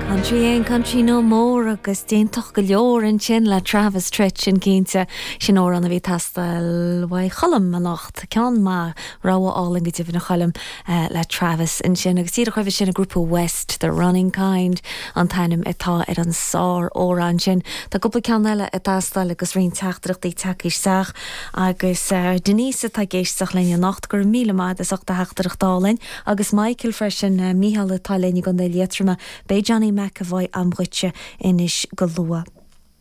Country ain't country no more agus déantach go leor ansin le Travis Tritt, sin cinnte. Sin amhrán a bhí ag teastáil uaidh Cholm anocht. Ceann maith, rogha álainn go deimhin a Choilm le Travis ansin. Agus díreach roimhe sin an grúpa West, The Running Kind an t-ainm atá ar an sár-amhrán sin. Tá cúpla ceann eile ag teastáil agus roinnt teachtaireachtaí tagtha isteach. Agus Denise atá ag éisteacht linn anocht, go raibh míle maith agat as ucht do theachtaireacht álainn. Agus Michael freisin, Mícheál atá linn i gContae Liatroma. Beidh Johnny McEvoy a'm dhuitse anois go luath.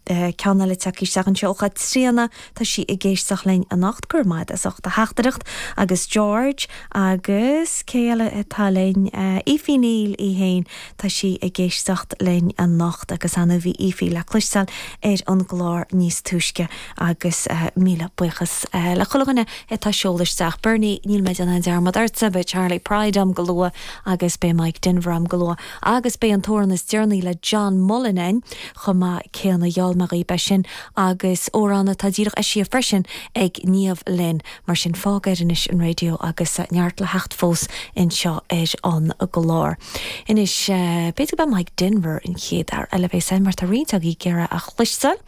Ceann eile tagtha isteach anseo ó Chaitríona, tá sí ag éisteacht linn anocht, go raibh maith agat as ucht do theachtaireacht. Agus George agus cé eile atá linn? Aoife Neil í fhéin, tá sí ag éisteacht linn anocht agus ar ndóigh bhí Aoife le cloisteáil ar an gclár níos túisce agus míle buíochas le chuile dhuine atá ag seoladh isteach. Bernie, níl mé ag déanamh aon dearmad ortsa, beidh Charley Pride a'm go luath agus beidh Mike Denver a'm go luath agus beidh an t-amhrán is deireanaí le John Mullen a'inn chomh maith céanna, gheall mé dhaoibh é sin agus amhrán atá díreach eisithe freisin ag Niamh Lynn. Mar sin fág air anois an raidió agus neart le theacht fós anseo ar an gclár. Anois, b'fhéidir go mbeidh Mike Denver an chéad fhear eile a bheas a'inn mar tá roinnt agaibh ag iarraidh a chloisteáil.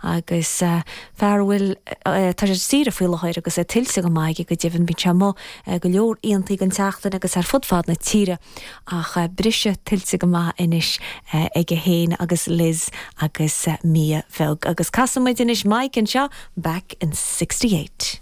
Agus fear a bhfuil, tá sé ar saoire faoi láthair agus é tuillte go maith aige go deimhin, bíonn sé amuigh go leor aontaí den tseachtain agus ar fud fad na tíre ach briseadh tuillte go maith anois aige féin agus Liz agus Mia bheag. Agus casfaidh muid anois Mike anseo, Back in 68.